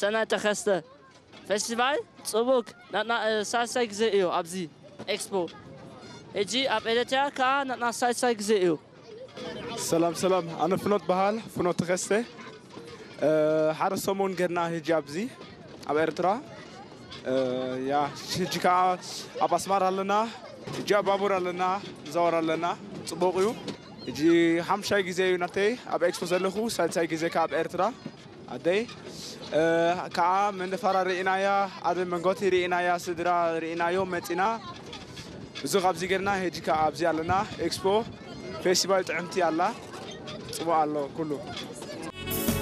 ሰናይ ተኸስተ። ፌስቲቫል ጽቡቅ ናትና ሳልሳይ ግዜ እዩ ኣብዚ ኤክስፖ። ሕጂ ኣብ ኤርትራ ከኣ ናትና ሳልሳይ ግዜ እዩ። ሰላም ሰላም፣ ኣነ ፍኖት በሃል፣ ፍኖት ተኸስተ። ሓደ ሰሙን ገድና ሕጂ ኣብዚ ኣብ ኤርትራ። ያ፣ ሕጂ ከዓ ኣብ ኣስማር ኣለና። ሕጂ ኣብ ባቡር ኣለና፣ ንዛወር ኣለና። ጽቡቕ እዩ። ሕጂ ሓምሻይ ግዜ እዩ ናተይ ኣብ ኤክስፖ ዘለኹ፣ ሳልሳይ ግዜ ከዓ ኣብ ኤርትራ። ኣደይ ከዓ መንደፋራ ርኢናያ፣ ኣደ መንጎቲ ርኢናያ፣ ስድራ ርኢናዮ መፂና። ብዙ ካብዚ ገርና ሕጂ ከዓ ኣብዚ ኣለና። ኤክስፖ ፌስቲቫል ጥዕምቲ ኣላ። ጽቡቕ ኣሎ ኩሉ።